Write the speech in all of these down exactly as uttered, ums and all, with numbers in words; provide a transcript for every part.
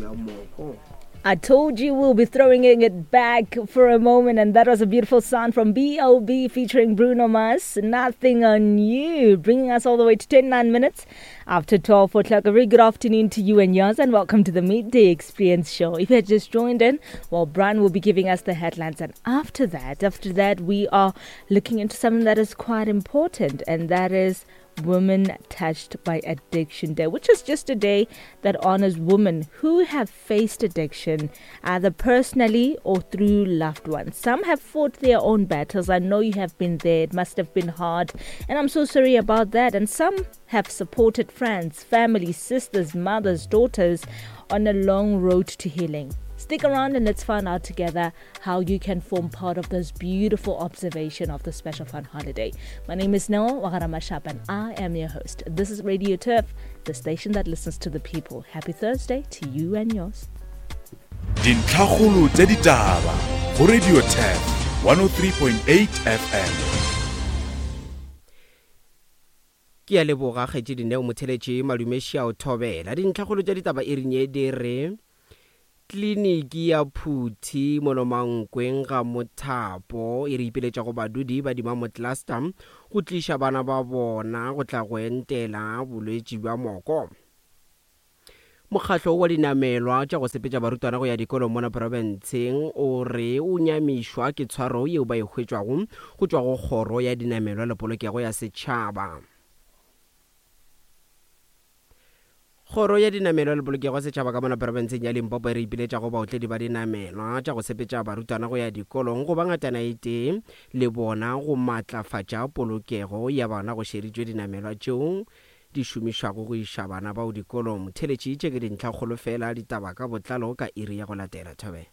ya moko. I told you we'll be throwing it back for a moment, and that was a beautiful sound from B O B featuring Bruno Mars, Nothing on You, bringing us all the way to twenty-nine minutes after twelve o'clock. A very good afternoon to you and yours, and welcome to the Midday Experience Show. If you had just joined in, well, Brian will be giving us the headlines, and after that, after that, we are looking into something that is quite important, and that is Women Touched by Addiction Day, which is just a day that honors women who have faced addiction, either personally or through loved ones. Some have fought their own battles. I know you have been there. It must have been hard, and I'm so sorry about that. And some have supported friends, family, sisters, mothers, daughters on a long road to healing. Stick around and let's find out together how you can form part of this beautiful observation of the special fun holiday. My name is Noel Wagaramashap and I am your host. This is Radio Turf, the station that listens to the people. Happy Thursday to you and yours. Dintlhakgolo tsa ditaba go Radio Turf one oh three point eight F M. Ke a leboga kgetši Dineo Motheletši Madumeši a o thobela. Dintlhakgolo tsa ditaba e rinye di re kliniki ya Phuthi Monomankweng ga Mothapo e re ipeletša go badudi ba Dimamo Cluster go tliša bana ba bona go tla go entela bolwetši bja moko. Mokgatlo wa dinamelwa tša go sepetša barutwana go ya dikolong mona profenseng o re o nyamišwa ke tshwaro yeo ba e hwetšwago go tšwa go kgoro ya dinamelwa le polokego ya setšhaba. Kgoro ya dinamelwa le polokego ya setšhaba ka mona profenseng ya Limpopo e re ipiletša go baotledi ba dinamelwa tša go sepetša barutwana go ya dikolong go ba ngatana e tee le bona go matlafatša polokego ya bana go šeritšwe dinamelwa tšeo di šomišwago go iša bana bao dikolong. Theletši tše ke dintlhakgolo fela ditaba ka botlalo ka iri ya go latela. Thobe.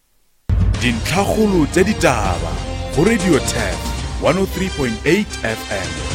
Dintlhakgolo tša ditaba go Radio Turf one oh three point eight F M.